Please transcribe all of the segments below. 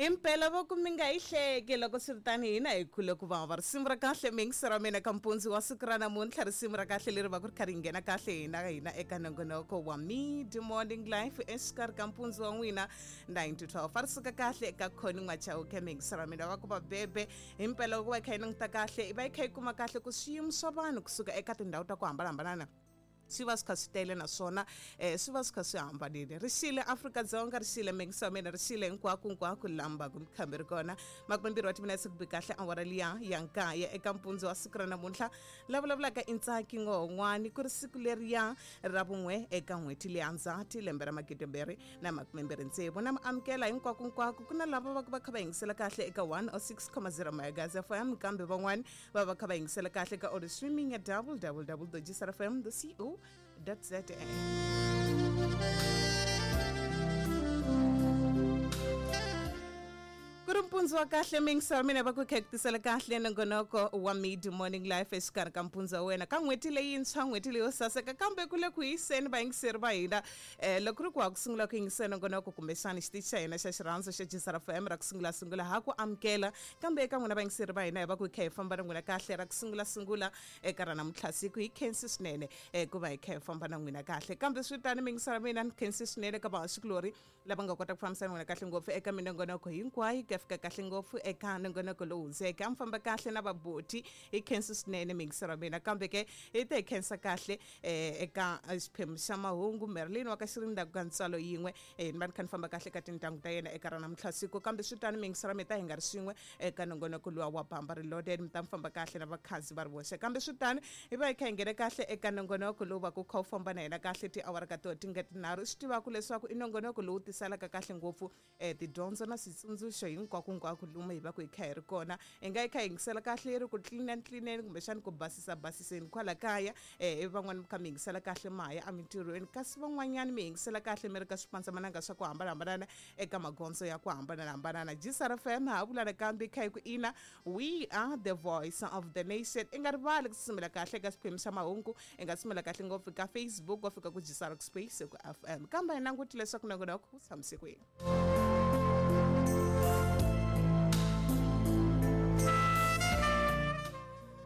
Impela va ku mi nga yi hleki loko swi ri tani hina hi khule ku vava. Risimu ra kahle mi yingiseri wa mina ka mpundzu wa siku ra namuntlha, risimu ra kahle leri va ku ri kha ri nghena kahle hina hina eka nongonoko wa Mid Morning Life exikarhi ka mpundzu wa n'wina 9 to 12. A ri suka kahle eka Connie N'wachauke mi yingiseri wa mina va ku va bebe. Himpela loko va yi kha yi languta kahle i va yi kha yi kuma kahle ku swiyimo swa vanhu kusuka eka tindhawu ta ku hambanahambana swi va swi kha swi tele naswona swi va swi kha swi hambanile. Ri xile Afrika-Dzonga, ri xile mingisa wa mina, ri xile hinkwako hinkwako laha mi kha mi ri kona. 20 wa timinetse ku bi kahle awara liya ya nkaye eka mpundzu wa siku ra namuntlha. La vulavulaka i Ntsaki Ngohon'wani, ku ri siku leriya ra vun'we eka n'hweti leya Ndzhati lembe ra 2026. Na mi amukela hinkwako hinkwako. Ku na lava va ku va kha va yingisela kahle eka 106.0 Megahertz FM, kambe van'wani va va kha va yingisela kahle ka audio streaming ya www.gsrfm.co.za. Ku ri mpundzu wa kahle mingisa wa mina va ku kha ku tisela kahle nongonoko wa Mid Morning Life exikarhi ka mpundzu wa wena ka n'hweti leyintshwa, n'hweti leyo saseka, kambe ku le ku hiseni vayingiseri va hina. Loko ri ku ha ku sungula ku yingisela nongonoko kumbexani xitichi xa hina xa xirhandzu xa Gisara FM ra ku sungula sungula ha ku amukela, kambe eka n'wina vayingiseri va hina hi va ku kha hi famba na n'wina kahle ra ku sungula sungula eka ra namuntlha siku. Hi khensi swinene ku va hi kha hi famba na n'wina kahle, kambe swi tani mingisela mina ni khensi swinene ka vahaxikulori lava nga kota ku fambisana n'wina kahle ngopfu eka minongonoko hinkwayo ku ya fika kahle ngopfu eka nongonoko lowu hundzeke. A mi famba kahle na vaboti, hi khensi swinene mingiselo wa mina, kambe ke hi ta hi khensa kahle eka xiphemu xa mahungu Merlin wa ka Xirinda ka ntswalo yin'we. Ni va ni kha ni famba kahle ka tintangu ta yena eka ra namuntlha siku, kambe swi tani mingiselo wa mina ta hi nga ri swin'we eka nongonoko luwa wa Bamba Reloaded, mi ta mi famba kahle na vakhazi va ri voxe, kambe swi tani hi va hi kha hi nghena kahle eka nongonoko lowu va ku kha wu famba na hina kahle tiawara ka toho ti nga tinharhu. Swi tivaka leswaku i nongonoko lowu tisalaka kahle ngopfu tidyondzo na switsundzuxo hinkwako hinkwako lomu hi va ku hi kha hi ri kona. Hi nga yi kha hi yingisela kahle yi ri ku tlilina tlilineni kumbexani ku basisa basiseni kwala kaya, ivi van'wani mi kha mi yingisela kahle ma ha ya emintirhweni, kasi van'wanyani mi yingisela kahle mi ri ka swipandzamananga swa ku hambanahambana eka magondzo ya ku hambanahambana. Gisara FM ha vula nakambe kha hi ku ina, we are the voice of the nation. I nga rivali ku tsutsumela kahle eka xiphemu xa mahungu, i nga tsutsumela kahle ngopfu ka Facebook wa fika ku Gisara Space ku FM, kambe hi languti leswaku nongonoko wu tshamise kwini.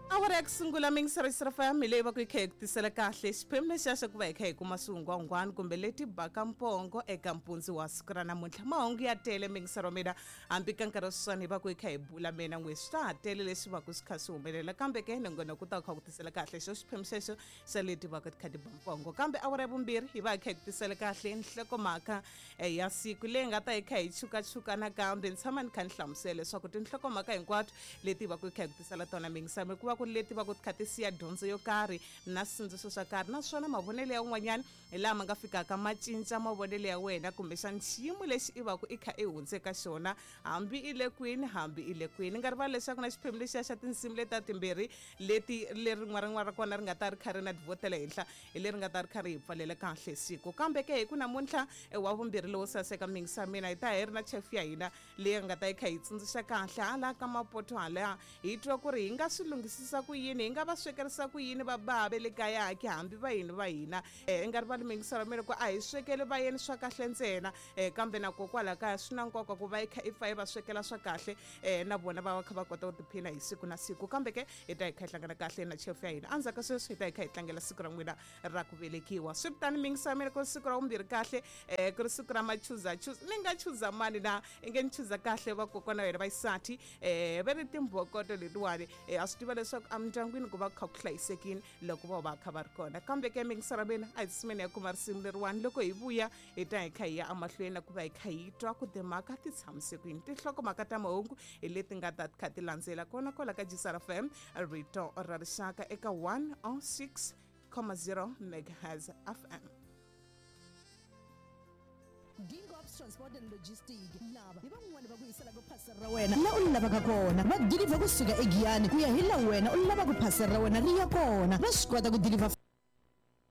Awara ya ku sungula mingisero FM hi leyi va ku yi kha yi ku tisela kahle xiphemu lexiya xa ku va hi kha hi kuma swihungwahungwani kumbe leti baka mpongo eka mpundzu wa siku ra namuntlha. Mahungu ya tele mingisero mina, hambi ka nkarhi wa sweswiwani hi va ku hi kha hi bula mina n'we swa ha tele leswi va ku swi kha swi humelela, kambe ke nongonoko wu ta kha ku tisela kahle xo xiphemu xexo xa leti va ku ti kha ti ba mpongo. Kambe awara ya vumbirhi hi va hi kha hi ku tisela kahle nhlokomhaka ya siku leyi nga ta hi kha hi chukachuka nakambe. Ni tshama ni kha ni hlamusela leswaku tinhlokomhaka hinkwato leti va ku hi kha hi ku tisela tona mingisami ku va ku ri leti va ku ti kha ti siya dyondzo yo karhi na switsundzuxo swa karhi, naswona mavonelo ya un'wanyana hi laha ma nga fikaka ma cinca mavonelo ya wena kumbexani xiyimo lexi i va ku i kha i hundze ka xona, hambi i le kwini hambi i le kwini. Nga rivali leswaku na xiphemu lexiya xa tinsimu leta timbirhi leti leri rin'wana rin'wana ra kona ri nga ta ri kha ri na divhotela henhla hi leri nga ta ri kha ri hi pfalela kahle siku. Kambe ke hi ku namuntlha wa vumbirhi lowo saseka mingisa mina hi ta hi ri na chef ya hina leyi nga ta yi kha yi tsundzuxa kahle hala ka mapoto hala, hi twa ku ri hi nga swi lunghisisa ku yini, hi nga va swekerisa ku yini va bava le kaya ki hambi va yini va hina. I nga rivali mingisa ra mina ku a hi swekeli vayeni swa kahle ntsena, kambe na kokwala kaya swi na nkoka ku va yi kha i pfa yi va swekela swa kahle, na vona va va kha va kota ku tiphina hi siku na siku. Kambe ke hi ta hi kha hi hlangana kahle na chef ya hina endzhaku ka sweswi, hi ta hi kha hi tlangela siku ra n'wina ra ku velekiwa. Swi ri tani mingisa mina ku ri siku ra vumbirhi kahle, ku ri siku ra machuza chuza. Ni nga chuza mani na i nge ni chuza kahle vakokwana wa hina va xisati, va ri timbhokoto letiwani. A swi tiva leswaku emindyangwini ku va ku kha ku hlayisekile loko vo va kha va ri kona. Kambe ke mingisa ra mina a hi tsutsumeni ya kuma risimu leriwani, loko hi vuya hi ta hi kha hi ya emahlweni na ku va hi kha hi twa ku timhaka ti tshamise kwini. Tinhlokomhaka ta mahungu hi leti nga ta kha ti landzela kona kwala ka Gisara FM, rito ra rixaka eka 106.0 megahertz FM. Gingops Transport and Logistic lava hi van'wani va ku yiselaka phasela ra wena la u lavaka kona. Va deliver kusuka eGiyani ku ya hi la wena u lavaka phasela ra wena ri ya kona. Va swi kota ku deliver.